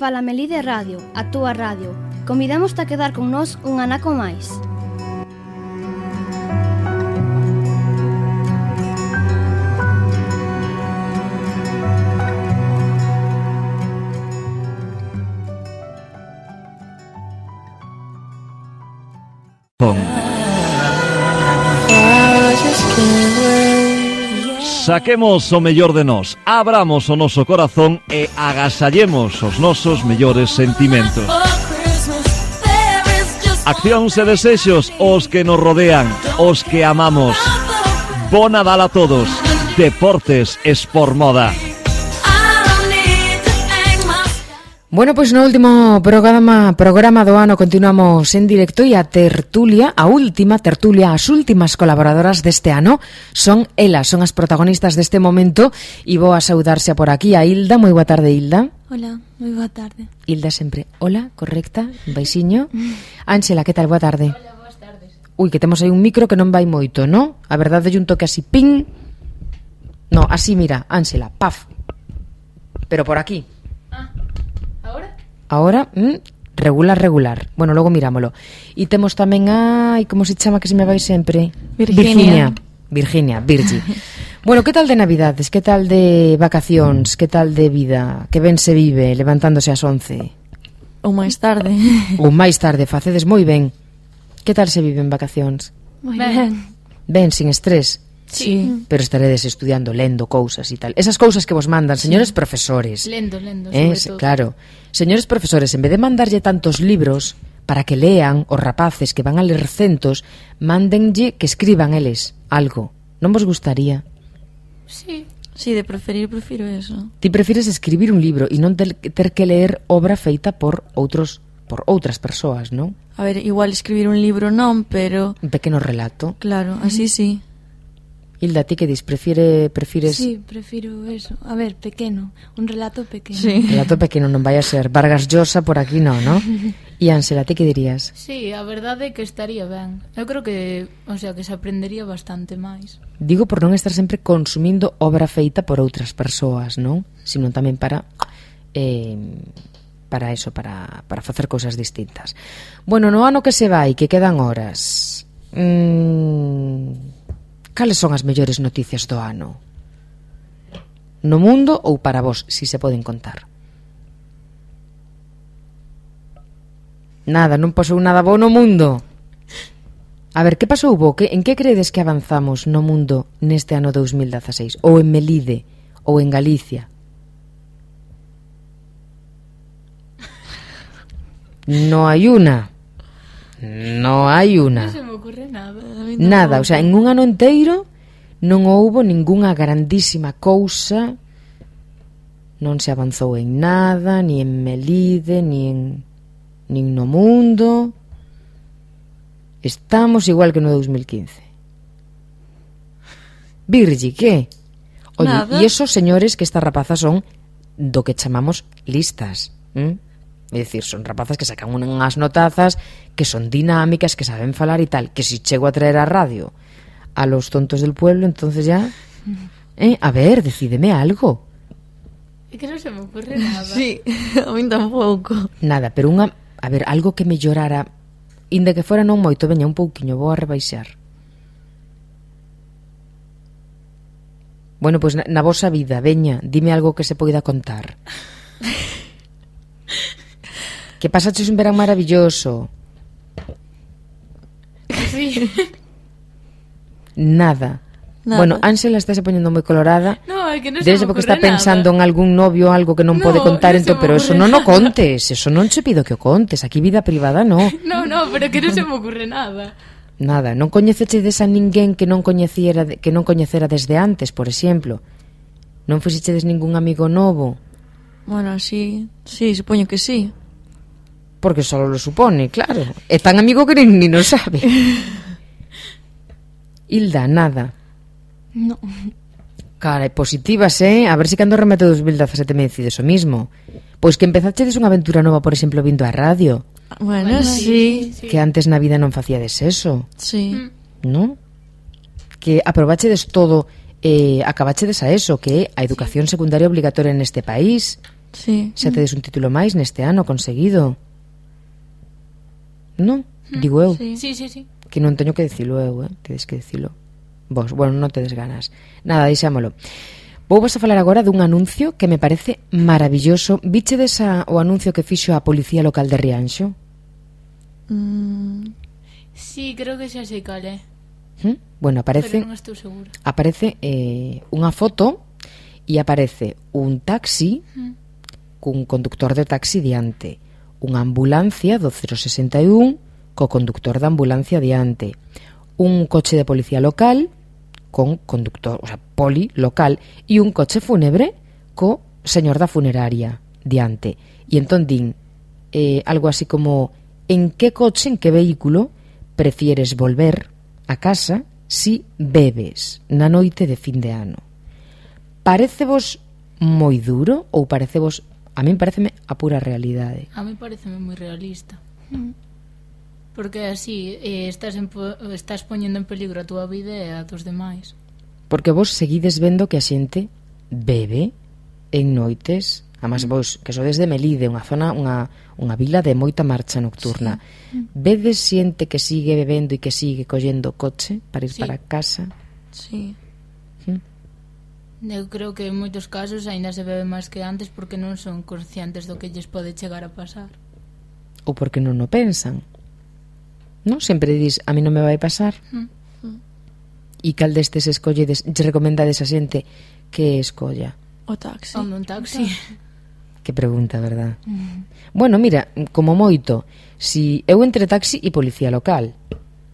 fala Melide Radio, a túa radio. Convidamos a quedar con nós un anaco máis. Saquemos o mellor de nós, abramos o noso corazón e agasallemos os nosos mellores sentimentos. Accións e desexos os que nos rodean, os que amamos. Bo Nadal a todos. Deportes Sport Moda. Bueno, pois no último programa do ano continuamos en directo e a tertulia, a última tertulia, as últimas colaboradoras deste ano son elas, son as protagonistas deste momento e vou a saudarse por aquí a Hilda. Moi boa tarde, Hilda. Hola, moi boa tarde. Hilda sempre, hola, correcta, un baixiño. Ángela, que tal? Boa tarde. Hola, boas tardes. Ui, que temos aí un micro que non vai moito, ¿no? A verdade é un toque así, ping. No, así, mira, Ángela, paf. Pero por aquí. Ahora, regular. Bueno, logo mirámolo. E temos tamén como se chama que se me vai sempre? Virginia. Virgi. Bueno, que tal de Navidades? Que tal de vacacións? Que tal de vida? Que ben se vive levantándose ás 11? Ou máis tarde. Ou máis tarde, facedes moi ben. Que tal se vive en vacacións? Moi ben. Ben, sin estrés. Sí. Pero estaredes estudiando, lendo cousas e tal. Esas cousas que vos mandan, señores profesores. Lendo, sobre todo. Claro. Señores profesores, en vez de mandarlle tantos libros para que lean os rapaces que van a ler centos, mándenlle que escriban eles algo. Non vos gustaría? Sí, de prefiro eso. Ti prefires escribir un libro e non ter que ler obra feita por outras persoas, non? A ver, igual escribir un libro non, pero... Un pequeno relato. Claro, así sí. Hilda, ti que dis? Prefires... Sí, prefiro eso. A ver, pequeno, un relato pequeno. Sí. Relato pequeno, non vai a ser Vargas Llosa por aquí, non? E Ángela, ti que dirías? Sí, a verdade é que estaría ben. Eu creo que, que se aprendería bastante máis. Digo por non estar sempre consumindo obra feita por outras persoas, non? Sino tamén para eso, para facer cousas distintas. Bueno, no ano que se vai, que quedan horas... Cales son as mellores noticias do ano? No mundo ou para vos, si se poden contar? Nada, non pasou nada bo no mundo. A ver, que pasou bo? En que credes que avanzamos no mundo neste ano 2016? Ou en Melide? Ou en Galicia? No hai una. Non se me ocurre nada. Nada, en un ano inteiro non houbo ningunha grandísima cousa, non se avanzou en nada, ni en Melide, nin no mundo. Estamos igual que no 2015. Virgi, que? Oye, e esos señores que estas rapazas son do que chamamos listas, É dicir, son rapazas que sacan unhas notazas que son dinámicas, que saben falar e tal, que si chego a traer a radio a los tontos del pueblo, entonces ya... A ver, decídeme algo. É que non se me ocurre nada. Sí, a mí tampouco. Nada, pero a ver, algo que mellorara, inda que fora non moito, veña un pouquiño, vou a rebaixar. Bueno, pois na vosa vida, veña, dime algo que se poida contar. Que pasaches un verán maravilloso. Sí. Nada. Bueno, Ángela está se poñendo moi colorada. No, é que non se me ocurre nada. Porque está pensando en algún novio, algo que non pode contar, pero eso non o contes. Eso non che pido que o contes. Aquí vida privada, no. No, pero que non se me ocurre nada. Nada, non coñecechedes a ninguén que non coñecera desde antes, por exemplo. Non fixechedes ningún amigo novo. Bueno, sí, supoño que sí. Porque só lo supone, claro. É tan amigo que ni non sabe. Hilda, nada. No. Cara, positivas, A ver se cando remete 2017 me decides o mismo. Pois que empezachedes unha aventura nova, por exemplo, vindo a radio. Bueno, sí. Que antes na vida non facíades eso. Sí. ¿No? Que aprobachedes todo, acabachedes a eso, que é a educación secundaria obligatoria neste país. Sí. Xa tedes un título máis neste ano conseguido. Non? Digo eu. Sí. Sí. Que non teño que dicilo eu, tedes que dicilo vos. Bueno, non tedes ganas. Nada, deixámolo. Vou vos a falar agora dun anuncio que me parece maravilloso. Vichedes o anuncio que fixo a Policía Local de Rianxo? Sí, creo que xa sei cal é. Bueno, aparece... Pero non estou segura. Aparece unha foto e aparece un taxi cun conductor de taxi diante, unha ambulancia do 061 co conductor da ambulancia diante, un coche de policía local con conductor, o sea, poli local, e un coche fúnebre co señor da funeraria diante. E entón din algo así como: en que coche, en que vehículo prefieres volver a casa si bebes na noite de fin de ano? Parecevos moi duro ou parecevos... A min pareceme a pura realidade. A mí pareceme moi realista. Porque así estás poñendo en peligro a túa vida e a dos demais. Porque vos seguides vendo que a xente bebe en noites, además vos que sodes de Melide, unha zona, unha vila de moita marcha nocturna. Vedes xente que sigue bebendo e que sigue collendo coche para ir para casa? Sí. Eu creo que en moitos casos aínda se bebe máis que antes porque non son conscientes do que lles pode chegar a pasar. Ou porque non o pensan. Non? Sempre dis, a mí non me vai pasar. E cal destes escolledes, lle recomendades a xente que escolla? O taxi. Un taxi. Que pregunta, verdad? Bueno, mira, como moito, si eu entre taxi e policía local.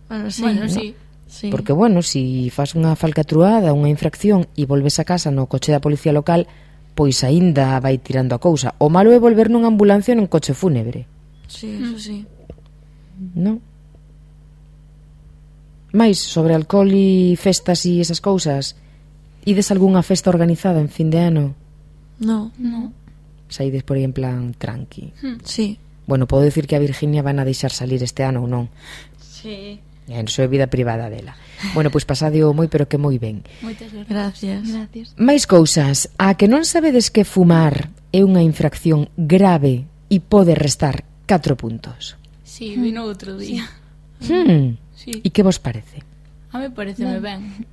Bueno, sí. Bueno, ¿no? sí. Sí. Porque, bueno, si fas unha falcatruada, unha infracción e volves a casa no coche da policía local, pois aínda vai tirando a cousa. O malo é volver nunha ambulancia ou nun coche fúnebre. Sí, eso sí. Non? Mais, sobre alcohol e festas e esas cousas, ides algunha festa organizada en fin de ano? No. Saides por aí en plan tranqui. Sí. Bueno, podo dicir que a Virginia van a deixar salir este ano ou non? Sí. Iso é vida privada dela. Bueno, pois pasadeo moi, pero que moi ben. Moitas gracias. Gracias. Máis cousas. A que non sabedes que fumar é unha infracción grave e pode restar 4 puntos? Sí, vino outro día. Sí. E que vos parece? A mí pareceme ben.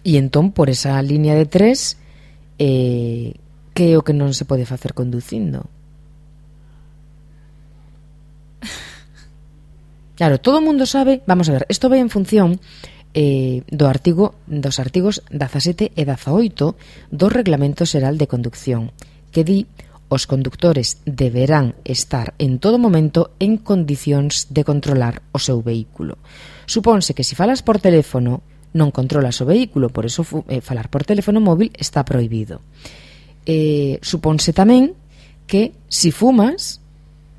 E entón, por esa línea de 3, que é o que non se pode facer conducindo? Claro, todo o mundo sabe, vamos a ver, isto vai en función dos artigos 17 e 18 do Reglamento Xeral de Conducción, que di: os condutores deberán estar en todo momento en condicións de controlar o seu vehículo. Supónse que se falas por teléfono non controlas o vehículo, por eso falar por teléfono móvil está prohibido. Supónse tamén que se fumas,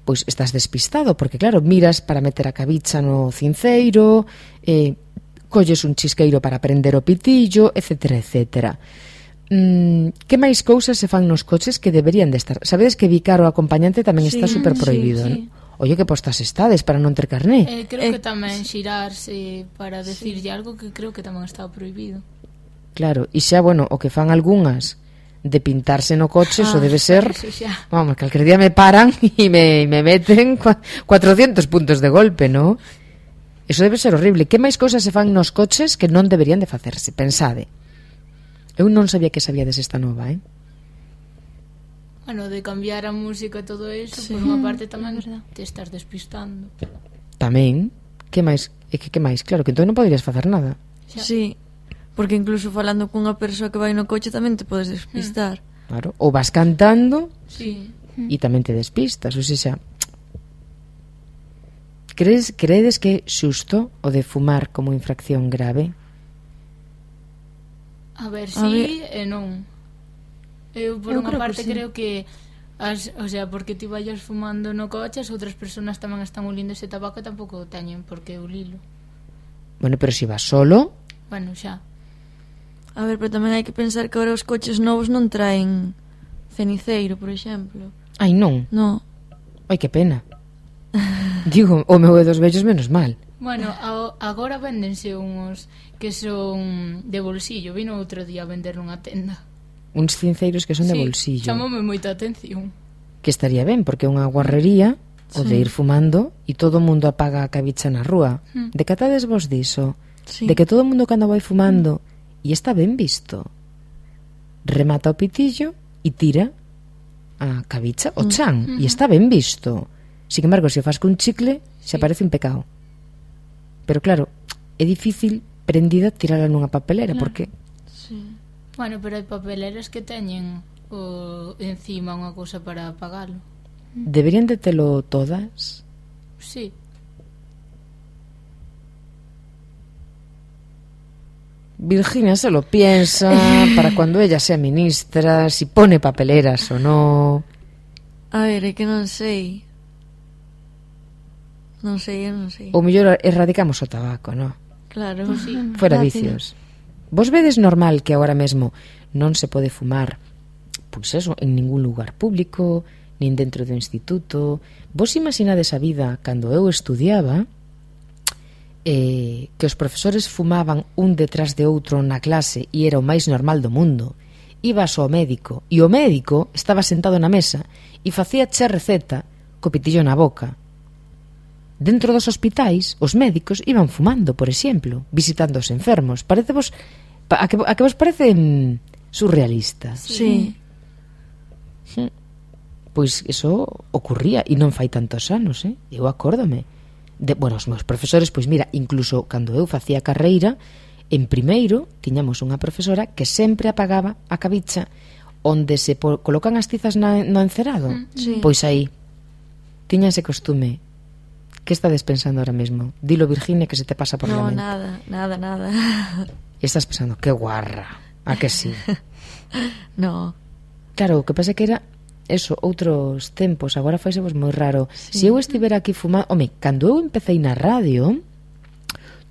pois estás despistado, porque claro, miras para meter a cabicha no cinceiro, colles un chisqueiro para prender o pitillo, etcétera, etcétera. Que máis cousas se fan nos coches que deberían de estar? Sabedes que bicar o acompañante tamén está super prohibido, sí. ¿no? Oye, que postas estades para non ter carné? Creo que tamén xirarse para decirlle algo que creo que tamén está prohibido. Claro, e xa, bueno, o que fan algunhas de pintarse no coche, eso debe ser... Eso xa. Vamos, que calquer día me paran e me meten 400 puntos de golpe, ¿no? Eso debe ser horrible. Que máis cousas se fan nos coches que non deberían de facerse? Pensade. Eu non sabía que sabíades esta nova, Bueno, de cambiar a música e todo eso, por unha parte tamén te estás despistando. Tamén. Que máis? Que máis? Claro, que entón non poderías facer nada. Xa. Sí. Porque incluso falando cunha persoa que vai no coche tamén te podes despistar. Claro. Ou vas cantando Sí. e tamén te despistas. Ou seja, credes que é xusto o de fumar como infracción grave? A ver, sí e non. Eu, por unha parte, sí. creo que o sea, porque ti vayas fumando no coche, as outras persoas tamén están olindo ese tabaco e tampouco teñen por que olilo. Bueno, pero se vas solo... Bueno, xa. A ver, pero tamén hai que pensar que agora os coches novos non traen ceniceiro, por exemplo. Ai, non. No. Ai, que pena. Digo, o meu é dos vellos menos mal. Bueno, agora véndense uns que son de bolsillo. Vino outro día a vender nunha tenda. uns cinceiros que son de Sí, bolsillo. chamoume moita atención. Que estaría ben, porque é unha guarrería o de ir fumando e todo o mundo apaga a cabicha na rúa. Decatades vos diso? Sí. De que todo o mundo cando vai fumando e está ben visto. Remata o pitillo e tira a cabicha o chan e está ben visto. Sin embargo, se o faz cun chicle, se parece un pecado. Pero claro, é difícil prendida tirala nunha papelera, porque Sí. Bueno, pero hai papeleras que teñen encima unha cousa para apagalo. deberían de telo todas. Sí. Virginia se lo piensa para cuando ella sea ministra, si pone papeleras o no. A ver, é que non sei. Non sei, eu non sei. O mellor erradicamos o tabaco, no? Claro. Pues sí. Fuera Fácil. vicios. Vos vedes normal que agora mesmo non se pode fumar, pois eso, en ningún lugar público, nin dentro do instituto. Vos imaginades a vida cando eu estudiaba, que os profesores fumaban un detrás de outro na clase e era o máis normal do mundo. Ibas ao médico e o médico estaba sentado na mesa e facía che receta co pitillo na boca. Dentro dos hospitais, os médicos iban fumando, por exemplo, visitando os enfermos. Parecevos a que vos parece surrealista? Sí. Pois iso ocurría e non fai tantos anos, Eu acórdome. Bueno, os meus profesores, pois mira, incluso cando eu facía carreira, en primeiro tiñamos unha profesora que sempre apagaba a cabicha onde se colocan as tizas no encerado. Sí. Pois aí tiña ese costume. Que estades pensando ahora mesmo? Dilo, Virginia, que se te pasa por la No, mente. nada. E estás pensando, que guarra. A que sí? No. Claro, o que pasa que era eso, outros tempos. Agora faise vos moi raro. Se eu estivera aquí fumando... Home, cando eu empecéi na radio,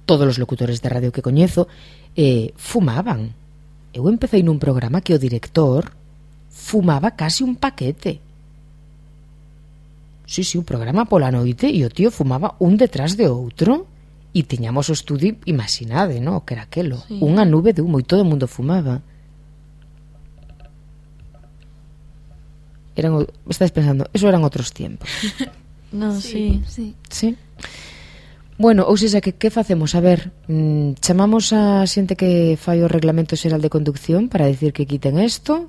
todos os locutores de radio que coñezo fumaban. Eu empecéi nun programa que o director fumaba casi un paquete. Sí, un programa pola noite e o tío fumaba un detrás de outro e tiñamos o estudio, imaginade, no? Que era aquelo, Sí. unha nube de humo e todo o mundo fumaba. Estáis pensando, eso eran outros tiempos. No, sí. Sí. Sí. Bueno, ou seja, que facemos? A ver, chamamos a xente que fai o Reglamento Xeral de Conducción para decir que quiten isto,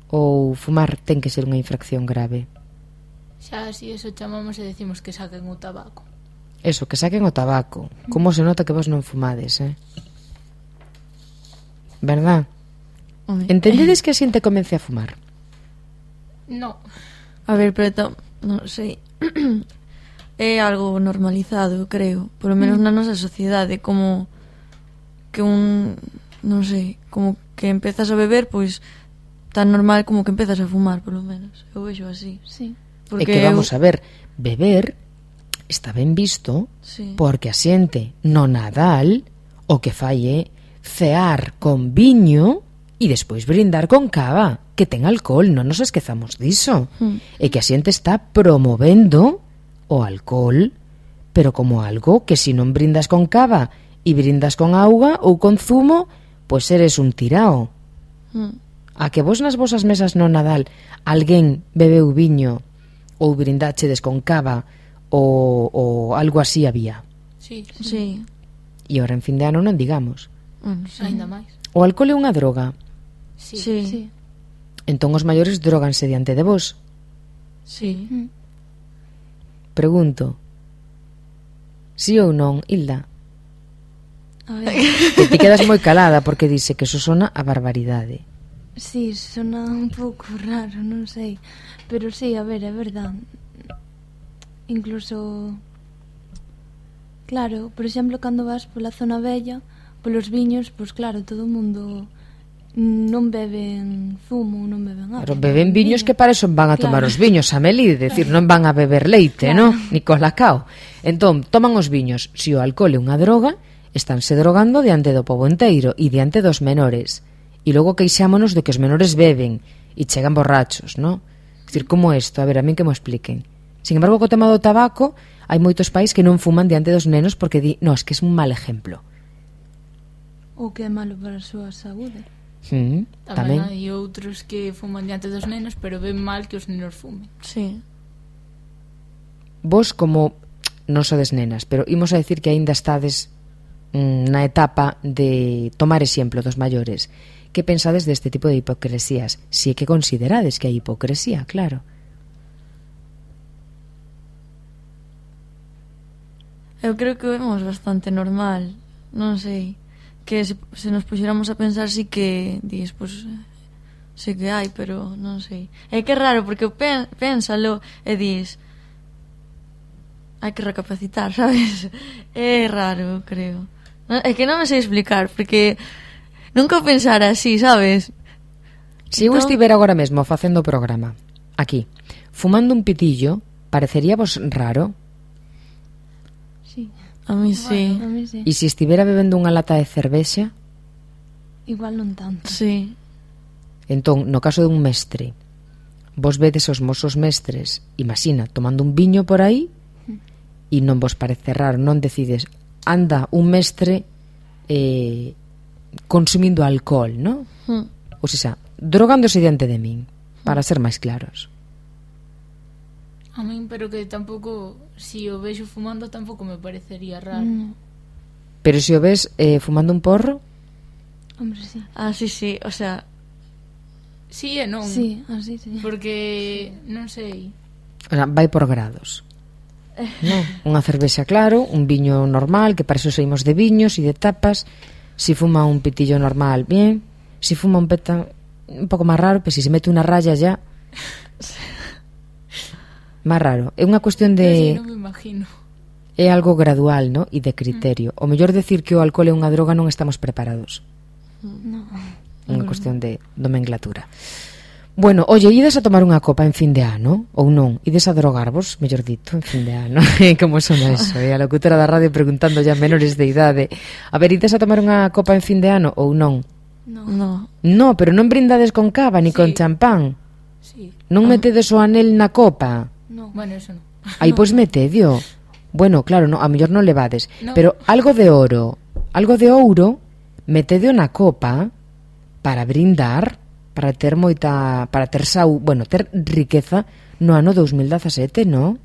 ou fumar ten que ser unha infracción grave? Xa así eso chamamos e decimos que saquen o tabaco. Eso, que saquen o tabaco. Como se nota que vos non fumades, Verdad? Home. Entendedes que a xente comece a fumar? No. A ver, pero non sei. É algo normalizado, creo. Por lo menos na nosa sociedade, como que non sei, como que empezas a beber, pois tan normal como que empezas a fumar, por lo menos. Eu vexo así. Sí. É que vamos a ver, beber está ben visto Sí. porque a xente no Nadal o que fai é cear con viño e despois brindar con cava, que ten alcohol, non nos esquezamos diso. E que a xente está promovendo o alcohol, pero como algo que se non brindas con cava e brindas con auga ou con zumo, pois eres un tirao. A que vos nas vosas mesas no Nadal alguén bebeu viño ou brindáchedes con cava ou algo así había. Sí. Sí. E ahora en fin de ano non digamos. Bueno, sí. Ainda máis. O alcohol é unha droga. Sí. Sí. Sí. Entón os maiores droganse diante de vos. Sí. Pregunto. Sí ou non, Hilda? A ver. Que ti quedas moi calada porque dice que eso sona a barbaridade. Sí, sona un pouco raro, non sei. Pero sí, a ver, é verdad. Incluso... Claro, por exemplo, cando vas pola zona bella, polos viños, pois claro, todo o mundo non beben zumo, non beben agua. Pero beben viños que para eso van a tomar os viños, Amelie, decir, non van a beber leite, Claro. ¿no? Ni colacao. Entón, toman os viños. Se o alcohol é unha droga, estánse drogando diante do pobo enteiro e diante dos menores. E logo queixámonos de que os menores beben e chegan borrachos, ¿no? Es decir, como isto? A ver, a min que me expliquen. Sin embargo, co tema do tabaco, hai moitos pais que non fuman diante dos nenos porque di, no, es que é un mal exemplo. O que é malo para a súa saúde. Tamén hai outros que fuman diante dos nenos, pero ven mal que os nenos fumen. Sí. Vos como non sodes nenas, pero imos a decir que aínda estades na etapa de tomar exemplo dos maiores. Que pensades deste tipo de hipocresías? Si é que considerades que hai hipocresía, claro. Eu creo que o vemos bastante normal. Non sei. Que se nos puxéramos a pensar sí que dis, pues, sí que hai, pero non sei. É que é raro, porque pénsalo e dis hai que recapacitar, sabes? É raro, creo. É que non me sei explicar, porque nunca pensara así, sabes? Se eu estivera agora mesmo facendo o programa aquí, fumando un pitillo, parecería vos raro? Sí. A mí sí. A mí sí. E se estivera bebendo unha lata de cervexa? Igual non tanto. Sí. Entón, no caso dun mestre, vos vedes os mosos mestres, imagina, tomando un viño por aí, e non vos parece raro, non decides, anda un mestre consumindo alcohol, non? Ou seja, drogándose diante de min, para ser máis claros. A min, pero que tampouco, si o vexo fumando, tampouco me parecería raro. Pero se o ves fumando un porro? Hombre, sí. Ah, sí, o sea... Sí e non. Sí, así sí. Porque, non sei... O sea, vai por grados. Non, unha cervexa claro, un viño normal, que para eso saímos de viños e de tapas. Si fuma un pitillo normal, bien. Si fuma un peta un pouco máis raro, pero si se mete unha raya ya... máis raro. É unha cuestión de... Non me imagino. É algo gradual, ¿no? E de criterio. O mellor decir que o alcohol é unha droga non estamos preparados. No. Unha cuestión de nomenclatura. Bueno, oye, ides a tomar unha copa en fin de ano? Ou non? Ides a drogarvos, mellor dito, en fin de ano? Como sona eso? A locutora da radio preguntando ya menores de idade. A ver, ides a tomar unha copa en fin de ano ou non? No. No, pero non brindades con cava ni con champán. Sí. Non metedes o anel na copa. No. Bueno, eso non. Aí, pois metedio. Bueno, claro, no, a mellor non levades. No. Pero algo de ouro, metedio na copa para brindar, para ter moita, para ter ter riqueza no ano 2017, no?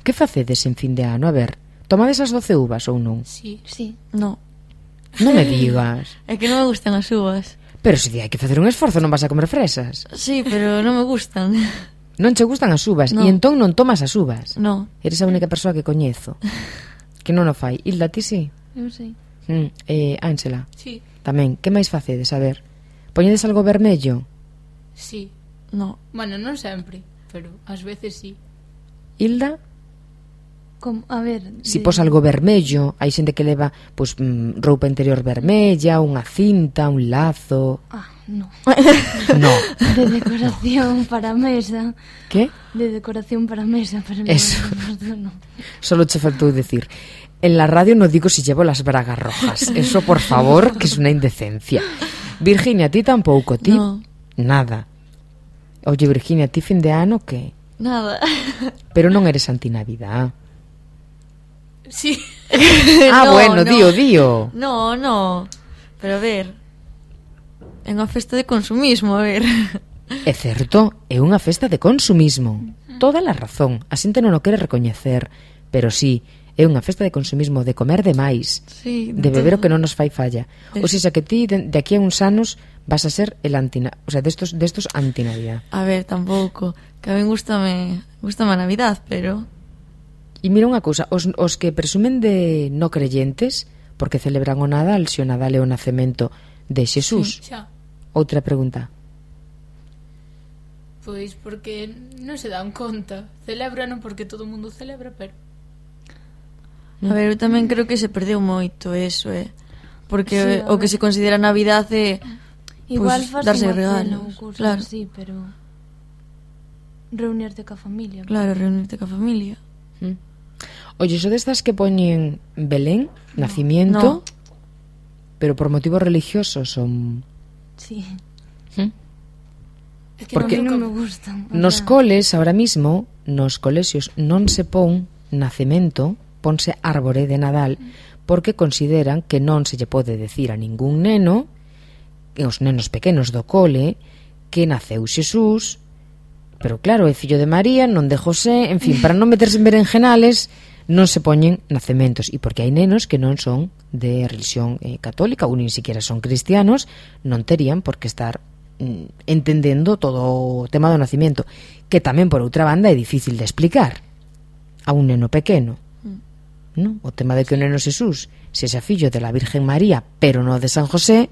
Que facedes en fin de ano? A ver, tomades as 12 uvas ou non? Sí. Sí. No. Non me digas. É que non me gustan as uvas. Pero se hai que facer un esforzo, non vas a comer fresas. Sí, pero non me gustan. Non che gustan as uvas, No. e entón non tomas as uvas. No. Eres a única persoa que coñezo que non o fai. Hilda, ti sí? Eu sei. Ángela, Sí. tamén. Que máis facedes? A ver, poñedes algo vermello? Sí. No. Bueno, non sempre, pero ás veces sí. Hilda? Como, a ver... Si pos algo vermello, hai xente que leva pois, roupa interior vermella, unha cinta, un lazo... Ah, no. No. De decoración para mesa. Que? De decoración para mesa, pero no. Eso. No. Solo che faltou decir. En la radio no digo si llevo las bragas rojas. Eso, por favor, que es una indecencia. Virginia, ti tampouco, ti? No. Nada. Oye, Virginia, ti fin de ano, que? Nada. Pero non eres antinavidad. Sí. Ah, No, bueno, no. dío. No. Pero a ver, é unha festa de consumismo, a ver. É certo, é unha festa de consumismo. Toda a razón. A xente non o quere recoñecer. Pero sí, é unha festa de consumismo, de comer demais, Sí, de beber o que non nos fai falla. Es- O sea que ti, de aquí a uns anos, vas a ser el o sea, destos antinavidad. A ver, tampouco. Que a mí gustame a Navidad, pero... E mira unha cousa, os que presumen de no creyentes, porque celebran o Nadal, se o Nadal é o nacemento de Xesús. Xa. Outra pregunta. Pois porque non se dan conta. Celebran porque todo o mundo celebra, pero... A ver, eu tamén creo que se perdeu moito eso, Porque Sí, a o que ver. se considera Navidad é... Igual Pues, faz darse unha regalos, cena ou cousas claro. así, pero... Reunirte ca familia. Claro, reunirte ca familia. Oye, so destas que poñen Belén, nacimiento, No. pero por motivos religiosos son... Sí. É que Porque non nunca- me gustan. o Nos sea, coles, ahora mismo, nos colexios non se pon nacemento, ponse árbore de Nadal, porque consideran que non se lle pode decir a ningún neno os nenos pequenos do cole, que naceu Xesús, pero claro, é fillo de María, non de José, en fin, para non meterse en berenjenales, non se poñen nacementos, e porque hai nenos que non son de religión católica ou nin siquiera son cristianos, non terían por que estar entendendo todo o tema do nacimiento, que tamén por outra banda é difícil de explicar a un neno pequeno, non? O tema de que o neno Xesús sexa fillo de la Virgen María pero non de San José,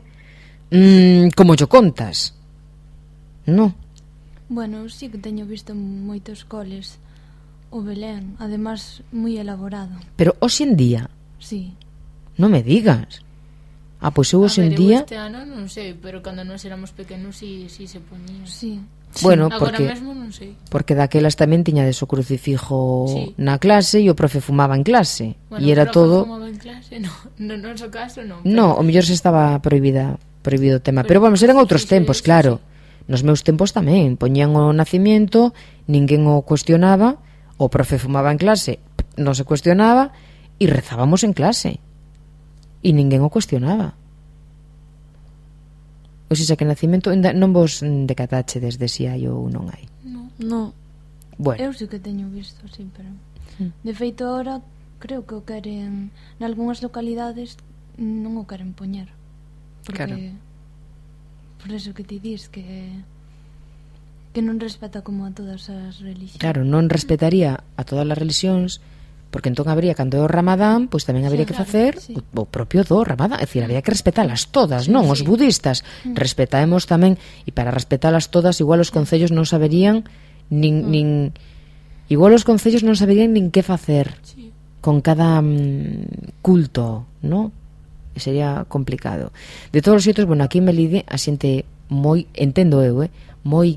como yo contas, non? Bueno, sí que teño visto moitos coles o Belén, además moi elaborado. Pero hoxe en día, Sí. non me digas. Pois eu hoxe en día, este ano non sei, pero cando nós éramos pequenos sí se poñía. Sí. bueno, Agora porque mesmo non sei. porque daquelas tamén tiñades o crucifijo Sí. na clase e o profe fumaba en clase, Bueno, e era profe todo. fumaba en clase, no noso caso non. No, o mellor se estaba prohibido o tema, pero vamos, eran outros tempos, claro. Nos meus tempos tamén poñían o nacimiento, ninguén o cuestionaba, o profe fumaba en clase, non se cuestionaba, e rezábamos en clase e ninguén o cuestionaba. O sea que nacimento non vos decatachedes de si hai ou non hai. No. Bueno, Eu sí que teño visto, sí, pero de feito ahora creo que o queren nalgúnas localidades non o queren poñer. Porque Claro. por eso que ti dis que non respeta como a todas as religións. claro, non respetaría a todas as religións, porque entón habría, cando é o Ramadán, pois tamén habría que facer sí. o propio do Ramadán, é dicir, habría que respetalas todas, non? Os budistas respetaemos tamén, e para respetalas todas igual os concellos non saberían nin igual os concellos non saberían nin que facer con cada culto, non? E sería complicado. De todos os xeitos, bueno, aquí en Melide a xente moi, entendo eu, moi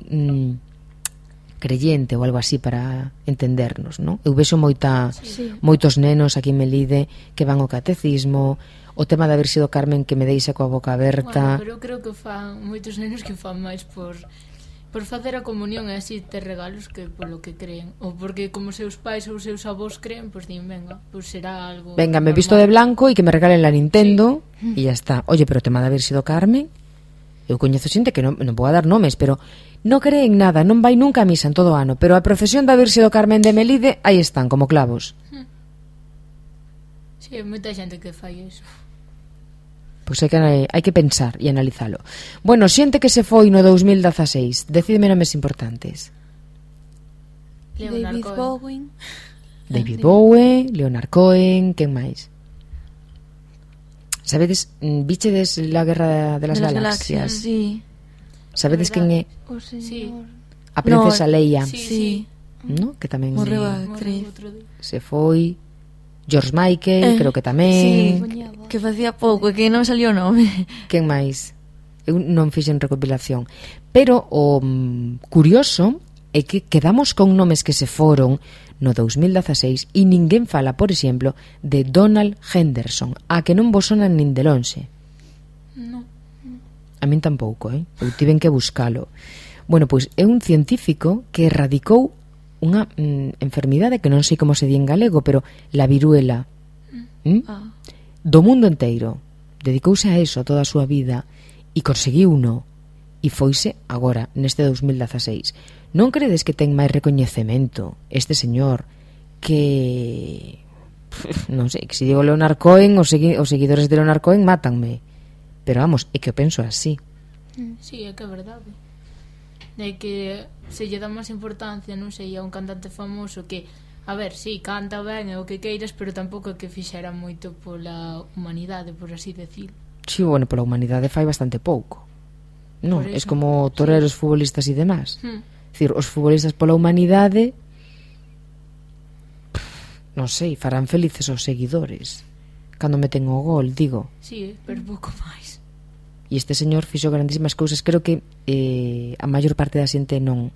creyente ou algo así para entendernos, non? Eu vexo moitos nenos aquí en Melide que van ao catecismo, o tema de haber sido Carmen que me deixa coa boca aberta. Bueno, pero eu creo que fan moitos nenos que fan máis por facer a comunión e así ter regalos que polo que creen, ou porque como seus pais ou seus avós creen, pois din, venga, pois será algo Venga, me normal. visto de blanco e que me regalen la Nintendo e ya está. Oye, pero o tema de haber sido Carmen, eu coñezo xente que non vou a dar nomes, pero non cree en nada, non vai nunca a misa en todo o ano, pero a procesión de haber sido Carmen de Melide, aí están, como clavos. Sí, hai moita xente que fai iso. Pois hai que pensar e analizalo. Bueno, xente que se foi no 2016, decídeme nomes importantes. David Bowie. David Bowie, Leonard Cohen, quen máis? Sabedes, bichedes la Guerra de las Galaxias? Sí. Sabedes quen é O señor... Sí. a princesa Leia? Sí. ¿No? Que tamén Morreu a actriz. se foi. George Michael, creo que tamén. Que facía pouco, que non salió o nome. Quen máis? Eu non fixen recopilación. Pero o curioso é que quedamos con nomes que se foron no 2016 e ninguén fala, por exemplo, de Donald Henderson, a que non vos sonan nin de lonxe. No. A min tampouco, eu tiven que buscalo. Bueno, pois é un científico que erradicou unha enfermidade que non sei como se di en galego, pero la viruela do mundo inteiro. Dedicouse a eso toda a súa vida e conseguiu uno e foise agora, neste 2016. Non credes que ten máis recoñecemento este señor que non sei, que se digo Leonard Cohen, os seguidores de Leonard Cohen mátanme, pero vamos, é que eu penso así. Sí, é que é verdade. De que se lle dá máis importancia, non sei, a un cantante famoso que, a ver, sí, canta ben e o que queiras, pero tampouco é que fixera moito pola humanidade, por así decir. Sí, bueno, pola humanidade fai bastante pouco. Non, Por es eso, como toreros, futbolistas e demás. Dicir, os futbolistas pola humanidade non sei, farán felices os seguidores cando meten o gol, digo. Sí, pero pouco máis. E este señor fixo grandísimas cousas. Creo que a maior parte da xente non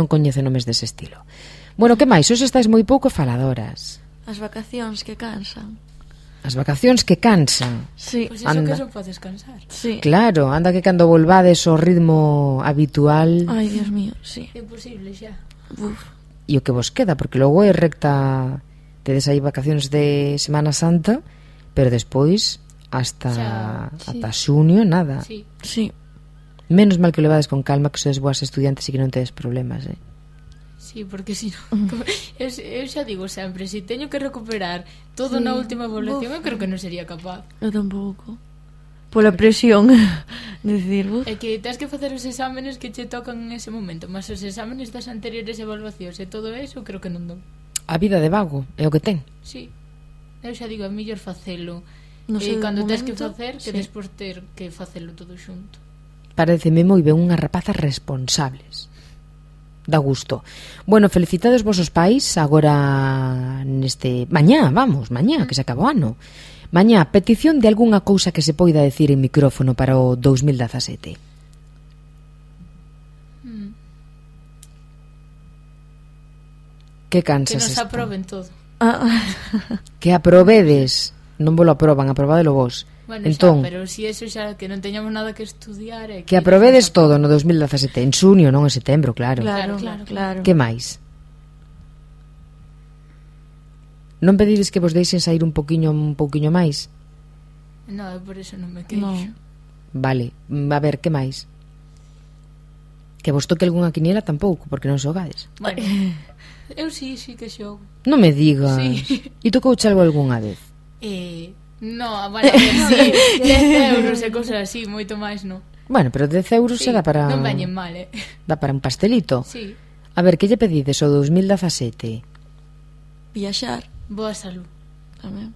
coñece nomes dese estilo. Bueno, que máis? Os estáis moi pouco faladoras. As vacacións que cansan. As vacacións que cansan. Sí. Pois iso Anda. que son para descansar. Sí. Claro, anda que cando volvades ao ritmo habitual Ai, Dios mío, sí. É imposible xa. Uf. e o que vos queda, porque logo é recta, tedes aí vacacións de Semana Santa, pero despois hasta Xa, ata xunio nada. Sí. Sí. Menos mal que o levades con calma, que sois boas estudiantes e que non tedes problemas, Sí, porque si non... Eu xa digo sempre, se teño que recuperar todo na última evaluación, eu creo que non sería capaz. Eu tampouco. Pola presión de decir, É que tens que facer os exámenes que che tocan en ese momento, mas os exámenes das anteriores evaluacións e todo eso, creo que non dou. A vida de vago é o que ten. Sí. Eu xa digo, é mellor facelo. No sei, Cando de tens que momento, facer, que sí. despois ter que facelo todo xunto. Pareceme moi ben unhas rapazas responsables. Da gusto. Bueno, felicitados vosos pais agora neste... Mañá, que se acabou o ano. Mañá, petición de algunha cousa que se poida decir en micrófono para o 2017. Que cansas Que nos está? aproben todo. Que aprobedes. Non vos lo aproban, aprobádelo vos. Bueno, entón, xa, pero si eso xa que non teñamos nada que estudiar que aprobedes todo no 2017, en xunio, non en setembro, claro. Claro. Que máis? Non pedides que vos deixen sair un pouquiño máis? No, por eso non me queixo. No. Vale, a ver, que máis? Que vos toque algunha quiniela tampouco, porque non xogades. Bueno, eu sí que xogo. Non me digas. Sí. E tocouche algo algunha vez? No, bueno, a ver, sí, 10 euros e cosas así, moito máis non. Bueno, pero 10 euros Sí, se dá para... non veñen mal, Dá para un pastelito. Sí, A ver, que lle pedides o 2017? Viaxar boa salud. tamén.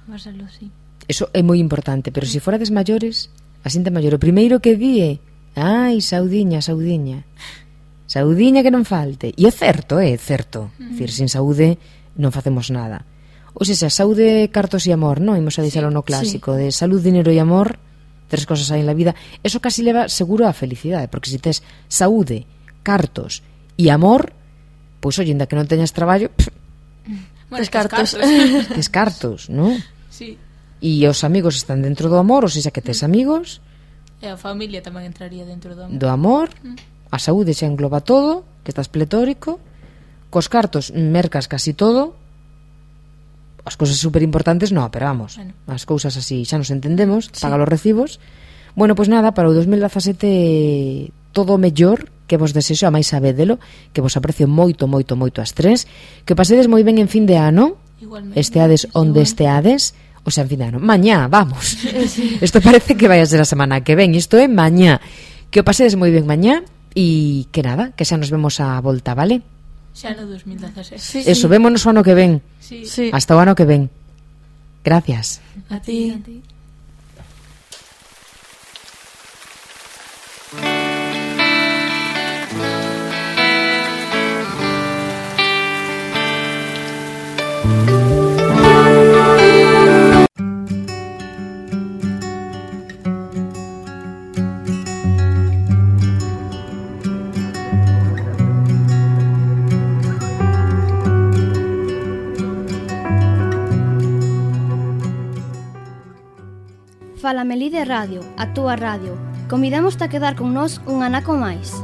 Vasalo, sí. Eso é moi importante, pero se forades maiores, a xente maior, o primeiro que di ai, saudiña que non falte. E é certo, Dicir, sin saúde non facemos nada. Ou seja, saúde, cartos e amor, non? Imos a deixalo no clásico de salud, dinero e amor, tres cosas hai en la vida. Eso casi leva seguro a felicidade, porque se tes saúde, cartos e amor, pois ollenda que non teñas traballo, Bueno, Tes cartos. tes cartos, non? Sí. E os amigos están dentro do amor, ou seja, que tes amigos, E a familia tamén entraría dentro do amor. do amor, a saúde xa engloba todo, que estás pletórico, cos cartos mercas casi todo, as cousas super importantes no, pero vamos, Bueno. as cousas así xa nos entendemos, paga los recibos. Bueno, pois nada, para o 2017 todo o mellor, que vos desexo, a máis sabédelo, que vos aprecio moito as tres, que pasedes moi ben en fin de ano, Igualmente. esteades onde esteades, o sea, en fin de ano. Mañá, vamos. Isto parece que vai a ser a semana que ven, isto é mañá. Que o pasedes moi ben mañá e que nada, que xa nos vemos a volta, vale? Xa no 2016. Sí, Eso, vémonos o ano que ven. Sí. Sí. Hasta o ano que ven. Gracias. A ti. Fala Melide Radio, a túa radio. Convidamos-te a quedar con nós un anaco máis.